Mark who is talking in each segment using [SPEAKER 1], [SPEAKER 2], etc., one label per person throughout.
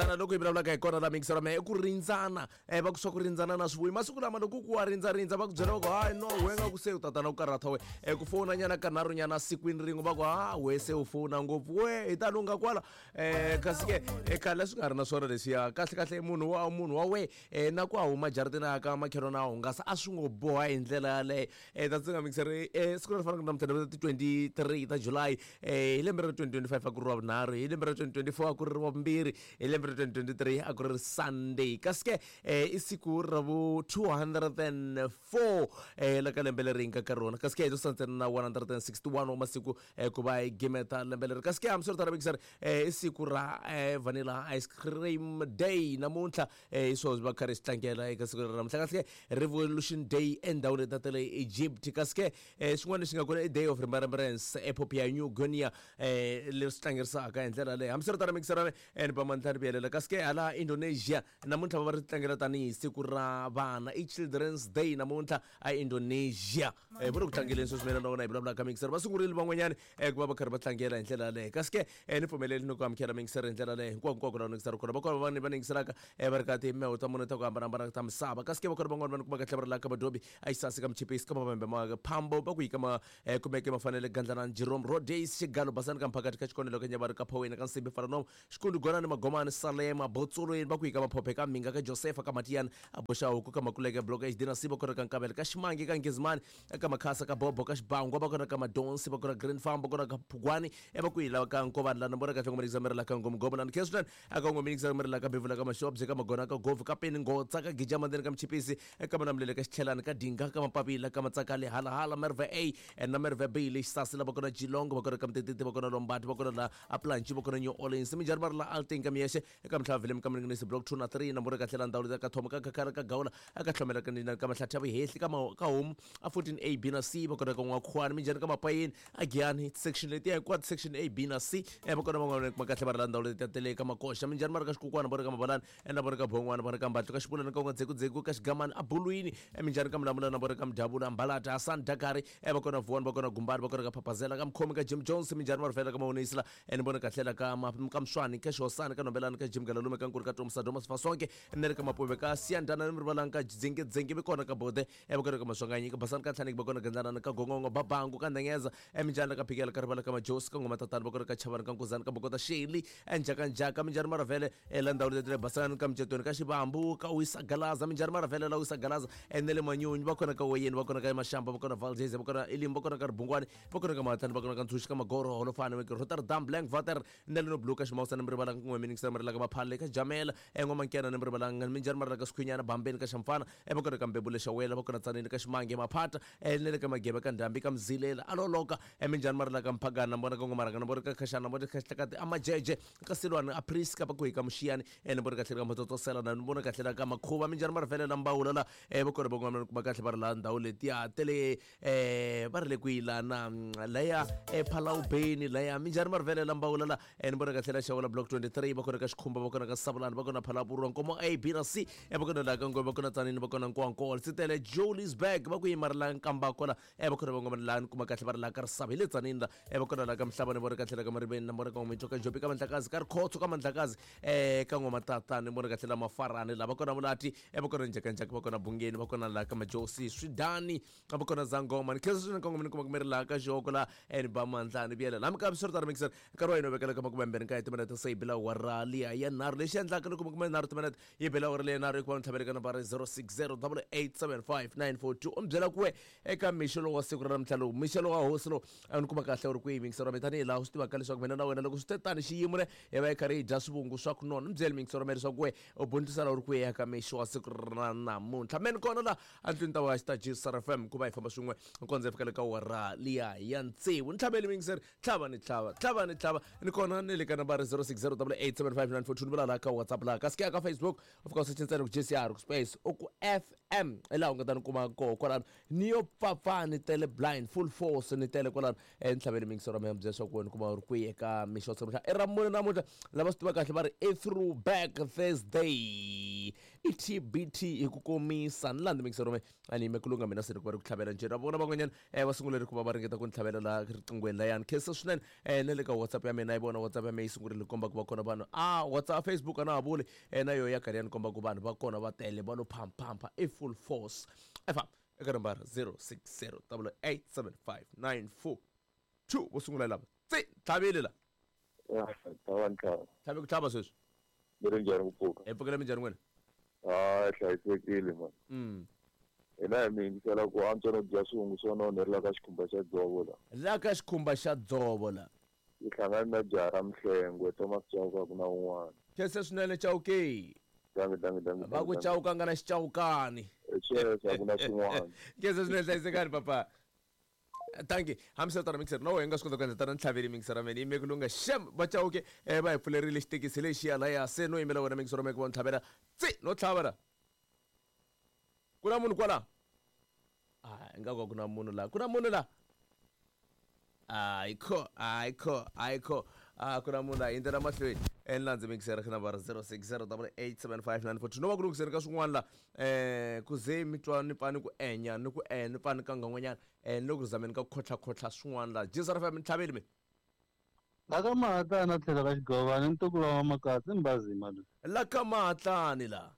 [SPEAKER 1] rindzana loko hi vulavulaka hi kona la mixer me i ku rindzana va ku swa ku rindzana na swi vuyi masiku lama loko ku wa rindzarindza va ku byela va ku hayi no we nga ku se u tatana ku karhata we ku fona nyana kanharhu nyana sikwini rin'we va ku ha we se u fona ngopfu we hi ta lungha kwala kasi ke khale swi nga ri na swona leswiya kahle kahle munhu wa we na ku a huma jaratini a ka makhelwani a hungasa a swi ngo boha hi ndlela yaleyo. Ta ndzi nga mixer siku leri fanaka namuntlha ti 23 ta July hi lembe ra 2025 a ku ri wa vunharhu, hi lembe ra 2024 a ku ri wa vumbirhi, hi lembe ra 2023 a ku ri Sunday. Kasi ke i siku ra vu 204 la ka lembe leri hi nga ka rona, kasi ke hi to santsena na 161 wa masiku ku va hi gimeta lembe leri. Kasi ke hambiswiritano mixer i siku ra vanilla ice cream day namuntlha, hi swona va karhi swi tlangela eka siku leri namuntlha. Kasi ke Revolution Day endhawini ta le Egypt. Kasi ke xin'wana lexi nga kona i Day of Remembrance ePapua New Guinea, leswi tlangerisaka hi ndlela leyi. Hambiswiritano mixer ni ba mandla ni vuyelela. Kasi ke hala Indonesia namuntlha va ri tlangela tanihi siku ra vana, i Children's Day namuntlha a Indonesia. Va ri ku tlangeleni sweswi mina na wena hi vulavulaka mixer, va sungurile van'wanyani ku va va karhi va tlangela hi ndlela yaleyo. Kasi ke ni pfumeleli ni ku amukela mixer hi ndlela leyo hinkwako hinkwako laha ni kona va kona van'wani va ningiselaka va ri ka timeho ta mune ta ku hambanahambana ta misava. Kasi ke va kona van'wani va ni kumaka tlhela va ri laha ka Madobi a Xisasi ka Mchipisi ka Mavembe ma Phambo va ku yi ka ma kumeke Mafanele Gandlana Jerome Rodays Xigalo Basani ka Mphakati ka Xikonelo ka Nyavari ka Phaweni ka Nsimbi Faranomo Xikundu Gonani Magomani Salema Botsolweni va ku yi ka Maphophe ka Minga ka Josefa ka Matiyana a Boxahuku ka Makuleke Block HD na C va kona ka Nkavela ka Ximangi ka Nghizimani ka Makhasa ka Bobo ka Xibangwa va kona ka Madonsi va kona Green Farm va kona ka Phugwani va ku yi lava ka Nkovani lana vona kahle ngoma mirela ka Ngomgomo lana Kheslan aka ngoma mirela ka Bevula ka Mashobye ka Magona ka Govu ka Peni Ngotsa ka Gija Mandeni ka Mchipisi ka Manamulele ka Xichelani ka Dinga ka Mapapila ka Matsakale Halahala Merve A na Merve B le Xisasi la va kona Geelong va kona ka Mtetete va kona Lombard va kona la Aplanchi va kona New Orleans minjhani va ri la Alteng ka Miyexe eka Mhlava Vilem ka Mninginisi Block 2 na 3 na vona kahle la ndhawu ka Thoma ka Khakhara ka Gawula aka Hlomela ka Nina ka Mahlathi ya Vuhehli ka ka Homu a 14 A B na C va kona ka N'wakhuwani minjhani ka Mapayeni a Giyani section letiya hinkwato section A B na C va kona van'wana kuma kahle va ri la ndhawu leti ta tele ka Makoxa minjhani va ri ka Xikukwana va ri ka Mabalani na vona ka Bhongwana va ri ka Mbatlu ka Xipulana ka N'wadzekudzeko ka Xigamani a Bulwini minjhani ka Mulamulana va ri ka Mdyavula Mbalata Hasani Dakari va kona Vuwani va kona Gumbani va kona ka Phaphazela ka Mkhomi ka Jim Jones minjhani va ri fela ka Mawonisi la ni vona kahle la ka ka Mswani ka Xihosani ka Nombelani ka Jim Galalume ka Nkuri ka Tomsa Domas Fasonke na le ka Mapuve ka Siyandana ni rivalanga ka Dzengedzenge vi kona ka Bode va kona ka Maswanganyi ka Basani ka Tlhaniki va kona Gandlanana ka Gongongo Babangu ka Ndengeza minjhani ka Phikela ka Rivala ka Majosi ka Ngoma Tatana va kona ka Chavani ka Nkuzani ka Bokota Sheli Njhakanjhaka minjhani Maravele la ndhawu leti le Basani ka Micetweni ka Xivambu ka Wisa Galaza minjhani Maravele la Wisa Galaza na le Manyunyu va kona ka Weyeni va kona ka Mashamba va kona Valdez va kona Elim va kona ka Ribungwani va kona ka Mahatlani va kona ka Ntshunxi ka Magoro Holofani Rotterdam Blankwater na le no Blue ka Ximawusana mi rivalanga kun'we miningisela mi rilaka Maphale ka Jamela N'wamankena ni mi rivalanga minjhani ma rilaka Skhwinyana Bambeni ka Xamfana va kona ka Mbebule Xawela va kona Tsanini ka Ximange Maphata na le ka Magebe ka Ndhambi ka Mzilela Aloloka minjhani ma rilaka Mphagana na vona ka N'wamarhanga na vona ka Khashana na vona ka Xihlakati a Majeje ka Silwani a Priska va ku hi ka Muxiyani ni vona kahle ka Matsotsosela na ni vona kahle la ka Makhuva minjhani ma ri velela Mbawula la va kona van'wana kuma kahle va ri la ndhawu letiya tele va ri le kwihi lana laya Phalawubeni laya minjhani ma ri velela Mbawula la ni vona kahle la Xawula Block 23 va kona ka Xikhumba va kona ka Savulani va kona Phalapurwa Nkomo A B na C va kona la ka Ngwe va kona Tsanini va kona Nkowankowa Sitele Jolisburg va ku yima ri la Nkambako la va kona van'wana la ni kuma kahle va ri la ka Risava hi le Tsanini la va kona la ka Mhlava ni vona kahle la ka Mariveni na vona ka N'wamitwa ka Njopi ka Mandlakazi ka Rikhotso ka Mandlakazi ka N'wamatata ni vona kahle la Mafarani la va kona Mulati va kona Njhakanjhaka va kona Bungeni va kona la ka Majosi Swidani va kona Zangoma ni khensa swinene kongoma ni kuma ku mi ri laha ka xihoko la ni ba mandla ni vuyelela hambi ka swi ri tano mixer nkarhi wa hina wu vekela ka 29 timinete se yi bila awara liya ya nharhu lexi endlaka ni kuma 13 timinete yi bela awara liya nharhu hikuva ni tlhaveleka nambara 060 887 5942 u mi byela ku we eka mixo lowu wa siku ra namuntlha lowu mixo lowu wa hosi lowu a ni kuma kahle u ri kwihi mixer wa mina tanihi laha u swi tivaka leswaku mina na wena loko swi te tani xiyimo ne hi va hi karhi hi dya swivungu swa ku nona ni byeli mixer wa mina leswaku we u bundlisela u ri kwihi eka mixo wa siku ra namuntlha me ni kona la andlwini ta wa xitaji Star FM ku va hi famba swin'we kondza hi fika le ka awara liya ya tsevu ni tlhaveli mixer tlhava ni tlhava tlhava ni tlhava ni kona ni le ka nambara 060 875 ni vula laha ka WhatsApp laha kasi ke ya ka Facebook u fika u search ntsena ku JCR ku space u ku FM hi laha u nga ta ni kuma koho kwalano ni yo pfapfa ni tele blind full force ni tele kwalano ni tlhaveli mixer wa mina byela leswaku wena kuma u ri kwihi eka mixo wa siku i ra mune namuntlha lava swi tiva kahle va ri i throwback Thursday. I TBT hi ku komisa. Ni landzi mixer rome a ni yime ku lunga mina se ni ku va ri ku tlhavela njhe. Na vona van'wanyana va sungule ri ku va va ringeta ku ni tlhavela laha riqinghweni layani. Khensa swinene na le ka WhatsApp ya mina yi vona WhatsApp ya mina yi sungurile ku komba ku va kona vanhu. A WhatsApp Facebook a na ha vuli na yoho ya karhi ya ni komba ku vanhu va kona va tele va lo phamphampa i full force. Efa eka nambara 060 8875942 vo sungula lava. Tsi tlhavile la.
[SPEAKER 2] Ya, tlhava ni tlhava.
[SPEAKER 1] Tlhave ku tlhava sweswi.
[SPEAKER 2] Mi ri njhani ku pfuka?
[SPEAKER 1] Hi pfukela minjhani n'wina?
[SPEAKER 2] Ha hlayisekile man. Hina hi mi yingisela ku antswa no dya swihungu swo nonhela ka xikhumba xa dzovo la.
[SPEAKER 1] La ka xikhumba xa dzovo la.
[SPEAKER 2] Yi hlangane na jaha ra Mhlengwe, Thomas Chauke a ku na un'wana.
[SPEAKER 1] Khensa swinene Chauke.
[SPEAKER 2] Dangi dangi dangi.
[SPEAKER 1] Va ku Chauke a nga na xichawukani.
[SPEAKER 2] Sweswo a ku na xin'wana.
[SPEAKER 1] Khensa swinene hlayisekani papa. Thank you. Hambiswiritano mixer na wena nga swi kota ku endla tana ntlhaveli mixer ra mina yime ku lunga xem va Chauke va hi pfulerile xitekisi lexiya laya se no yimela wena mixer ra mina ku va ntlhavela tsi no tlhava la. Ku na munhu kwala? Ah, ingaku a ku na munhu la. Ku na munhu la? Ayikho, ayikho, ayikho. Ah, ku na munhu la hindzela mahlweni. Ni landze mixer ka nambara 0608875942. No va ku lunghiseni ka swin'wana la. Ku ze mi twa ni pfa ni ku enya ni ku e ni pfa ni kanga n'wanyana. Ni le ku zameni ka ku khotlha-khotlha swin'wana la. Jesus FM ni tlhaveli mina.
[SPEAKER 3] La ka Mahatlani a tlhelo ka Xigovani ntukulu wa Makatsi Mbazima loyi.
[SPEAKER 1] La ka Mahatlani la.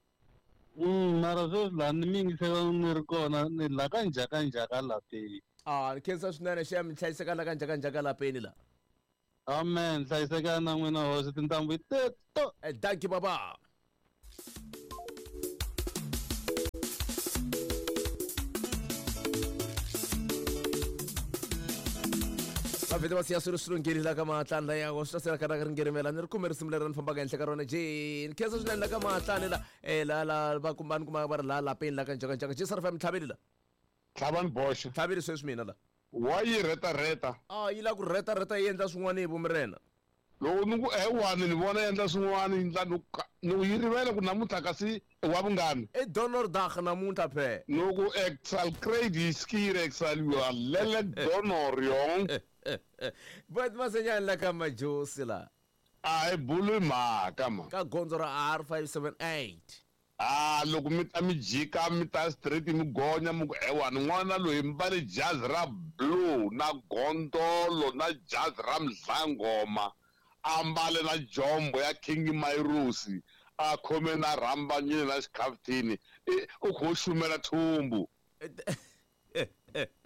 [SPEAKER 3] Mara sweswi laha ni mi yingisela ni ri kona ni la ka njhaka njhaka lapeni.
[SPEAKER 1] Ah, ni khensa swinene xem mi hlayiseka la ka njhaka njhaka lapeni la.
[SPEAKER 3] Amen, hlayiseka na n'wina hosi tintambu teto.
[SPEAKER 1] Dankie baba. Va vhete va siya swilo swi lunghile la ka Mahatlani la ya swi ta sela ka ri ngerimela ni ri kume risimu leri ni fambaka henhla ka rona je ni khensa swinene la ka Mahatlani la la la va kuma ni kuma va ri la lapeni la ka njhaka njhaka je sara fa mi tlhaveli la.
[SPEAKER 4] Tlhavani boxa.
[SPEAKER 1] Tlhaveli sweswi mina la.
[SPEAKER 4] Wa yi reta reta.
[SPEAKER 1] A yi la ku reta reta yi endla swin'wana hi vumirena.
[SPEAKER 4] Loko ni ku wani ni vona endla swin'wana yi ndla ni ku yi rivele ku namuntlha kasi wa vungani.
[SPEAKER 1] I donor dag namuntlha phe.
[SPEAKER 4] Ni ku ek sal kry die skuur ek sal jou lelik donor jong.
[SPEAKER 1] But Masenyani la ka Majosi la.
[SPEAKER 4] A hi buli mhaka ma.
[SPEAKER 1] Ka gondzo ra R578.
[SPEAKER 4] Ah, loko mi ta mi jika mi ta straight mi gonya mi ku ewani n'wana loyi mbale jazi ra blue na gondolo na jazi ra mdlangoma a mbale na jombo ya King Mairusi a khome na rhambanyini na xikhaftini u kho xumela thumbu.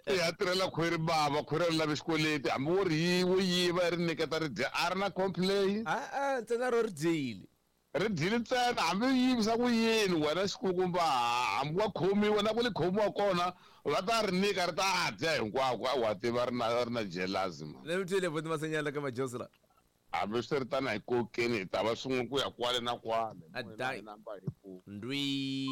[SPEAKER 4] I ya tirhela khwiri bava khwiri ri lave xikweleti hambi wo ri wo yiva ri nyiketa ri dya a ri na complain.
[SPEAKER 1] A ntsena ro ri dyile.
[SPEAKER 4] Ri dyile ntsena hambi u yivisa ku yini wena xikukumba hambi wa khomiwa na ku li khomiwa kona va ta ri nyika ri ta dya hinkwako wa tiva ri na ri na jealousy man.
[SPEAKER 1] Ni mi twile buti Masenyani la ka Majosi la.
[SPEAKER 4] Hambi swi ri tano hi kokeni hi ta va swin'we ku ya kwale na kwale.
[SPEAKER 1] Ndwi.